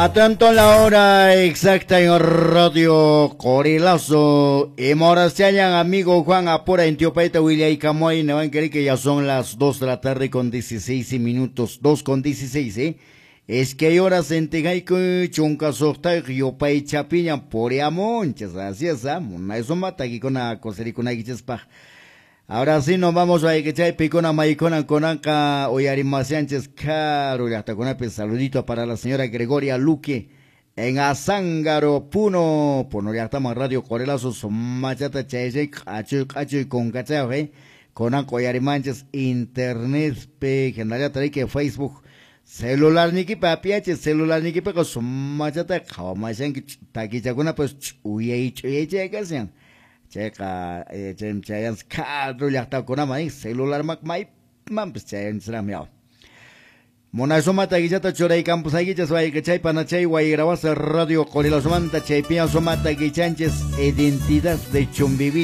Atento la hora exacta en Radio Corilazo. Y Moraciayan, amigo Juan Apura en Tiopaita, Willaycamoy, que ya son las 2 de la tarde con 16 minutos. 2 con 16, ¿eh? Es que hay horas en Tejaico, Chunca Socta, Yopay Chapiña, Poriamonches, así es, ¿ah? Eso mata aquí con la cosericuna Ahora sí nos vamos a Iquechay, Picona, Maicona, Conanca, Oyarimasianches, Caro, Llaqtakunapi. Saludito para la señora Gregoria Luque en Azángaro, Puno, Puno llaqtaman Radio Corelazo, Machata, Chaychay, Achuy, Achuy, Concachao, Conanca, Oyarimanches, Internet, P, General que Facebook, celular nikipa apiache, celular nikipa, machata, qhawamashanki, takichakuna, pues, chuyay, chuyay, chay, kasian. Chayqa chayanchis karu llaqtakunaman celular maymanpis chayanchisraqmi yaw. Munasumata guillata churaykampusaykichis wayqichay panachay wayrawasa Radio Qorilazumanta chaypiña sumata guichanchis identidad de Chumbivilcas.